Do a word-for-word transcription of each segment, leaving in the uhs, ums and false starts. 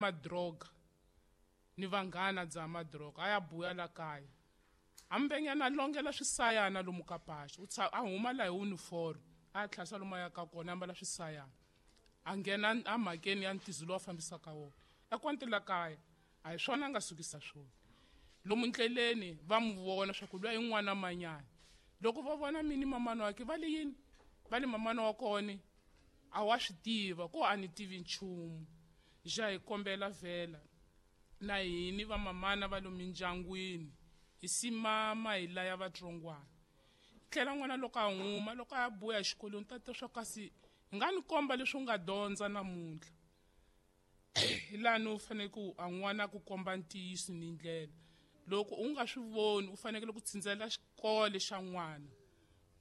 Madroga ni vanghana dzaha madroga a ya buya la kaya a mbenyana longela swisayana lomu ka paxo u a huma la hi uniform a ya tlhasa lomu a ya ka kona ambala swisayana a nghena emhakeni ya ntizo lowu a fambisaka wona ekwante la kaya a hi swona a nga sukisa swona lomu ndleleni va mu vona swa ku luya i n'wana manyana loko va vona mini mamana wakhe va le yini va le mamana wa kona a wa swi tiva ko a ni tivi nchumu ja hi kombela vhela na hini va mamana va lomu mindyangwini hi simama hi laya vatsongwana tlhela n'wana loko a huma loko a ya buya exikolweni ta twa swa kasi hi nga ni komba leswi u nga dyondza namuntlha hi lani u fanele ku a n'wana ku komba ntiyiso ni ndlela loko u nga swi voni u fanekele ku tsindzela xikolo xa n'wana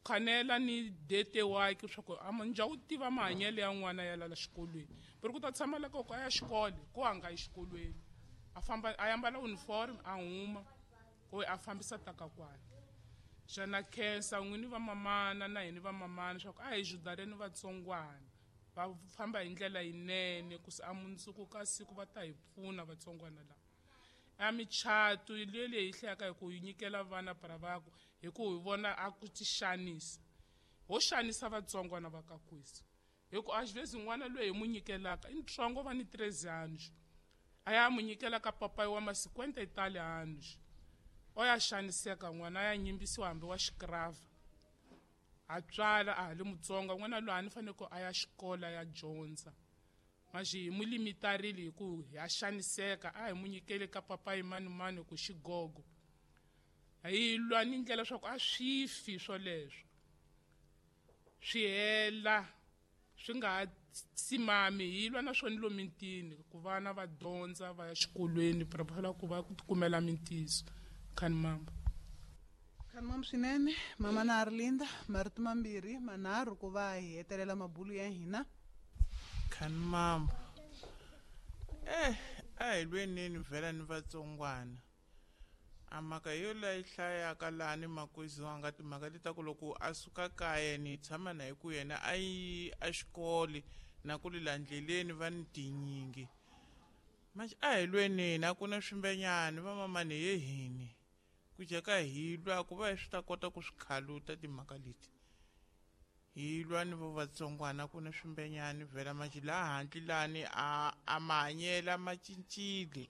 khanela ni dete wakhe swa ku njha u tiva mahanyelo ya n'wana ya lala xikolweni ku ri ku ta tshama la koko a ya xikolo ko a nga yi xikolweni a famba a ambala uniform a huma ko a fambisa taka kwani xana khensa n'wini va mamana na hini va mamana swa ku a hi judareni vatsongwana va famba hi ndlela yinene ku se a mundzuku ka siku va ta hi pfuna vatsongwana lava a michato leyi leyi hlayaka hi ku yi nyikela vana para vaku hi ku hi vona a ku ti xanisa ho xanisa vatsongwana va ka kwisi hi ku a xivezi n'wana loyi hi mu nyikelaka i ntsongo va ni treze anos a ya mu nyikela ka papayi wa ma cinquenta e tal anos o ya xaniseka n'wana a ya nyimbisiwa hambi wa xikrava a tswala a ha le mutsonga n'wana loyi a ni fanele ku a ya xikolo ya dyondza manje hi mu limitarile hi ku ya xaniseka a hi mu nyikele ka papayi mani mani ku xigogo hi lwa ni ndlela swa ku a swi fi swoleswo swi hela swi nga ha simami hi lwa na swona lomu mitini ku vana va dyondza va ya xikolweni prepare ku va ku tikumela mintiso khani mamba khani mamba swinene mama na Arlinda marito mambirhi manharhu ku va hi hetelela mabulu ya hina khani mamba eh a hi lweneni vhela ni vatsongwana a mhaka yo leyi hlayaka lani makwizi wanga timhaka leti ta ku loko a suka kaya ni tshama na hi ku yena a yi a xikole na ku lela ndleleni va ni tinyingi manje a hi lweneni a ku na swimbenyani vamamani he hini ku jeka hi lwa ku va hi swi ta kota ku swi khaluta timhaka leti hi lwa ni vo vatsongwana ku na swimbenyani vhela manje laha handle lani a a mahanyelo ma cincile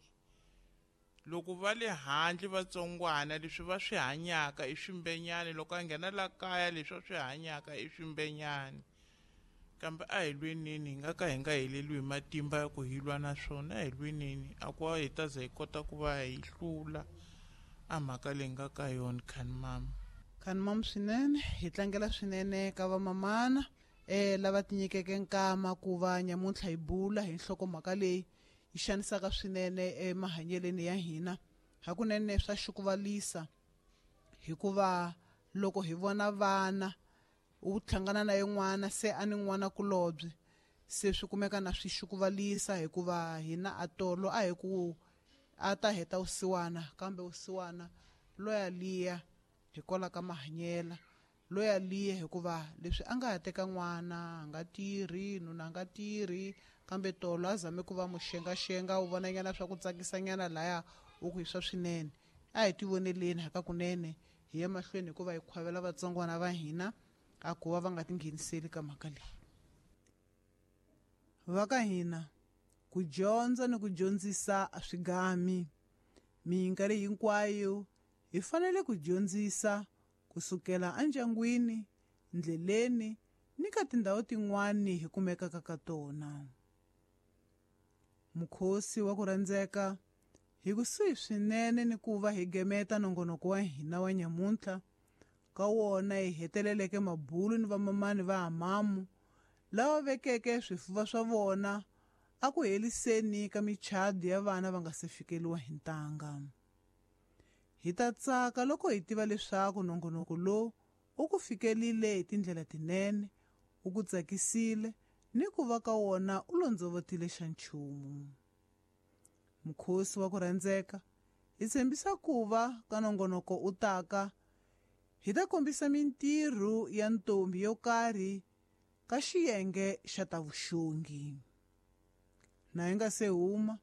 loko va le handle vatsongwana leswi va swi hanyaka i swimbenyani loko a nghena la kaya leswi va swi hanyaka i swimbenyani kambe a hi lweneni hi nga ka hi nga heleliwi hi matimba ya ku hi lwa na swona a hi lweneni a ku hi ta za hi kota ku va hi hlula a mhaka leyi nga ka yona khani mama khani mama swinene hi tlangela swinene ka vamamana eh lava tinyikeke nkama ku va nyamuntlha hi bula hi nhlokomhaka leyi yi xanisaka swinene emahanyeleni ya hina hakunene swa xukuvalisa hikuva loko hi vona vana u hlangana na yin'wana se a ni n'wana kulobye se swi kumeka na swi xukuvalisa hikuva hina a tolo a hi ku a ta heta vusiwana kambe vusiwana loya liya hikwalaho ka mahanyela loya liya hikuva leswi a nga ha teka n'wana a nga tirhi nuna a nga tirhi kambe tolo a zame ku va muxengaxenga u vonanyana swa ku tsakisanyana laya u ku hi swa swinene a hi tivoneleni hakakunene hi ya mahlweni hikuva hi khwavela vatsongwana va hina a ku va va nga tingheniseli ka mhaka leyi va ka hina ku dyondza ni ku dyondzisa a swi gami minkarhi hinkwayo hi fanele ku dyondzisa kusukela endyangwini ndleleni ni ka tindhawu tin'wani hi kumekaka ka tona mukhosi wa ku rhandzeka hi kusuhi swinene ni ku va hi gemeta nongonoko wa hina wa nyamuntlha ka wona hi heteleleke mabulu ni vamamani va hamamu lava vekeke swifuva swa vona a ku heliseni ka michado ya vana va nga se fikeliwa hi ntanga hi ta tsaka loko hi tiva leswaku nongonoko lowu u ku fikelile hi tindlela tinene u ku tsakisile ni ku va ka wona u londzovotile xa nchumu mukhosi wa ku rhandzeka hi tshembisa ku va ka nongonoko u taka hi ta kombisa mintirho ya ntombi yo karhi ka xiyenge xa ta vuxongi na hi nga se huma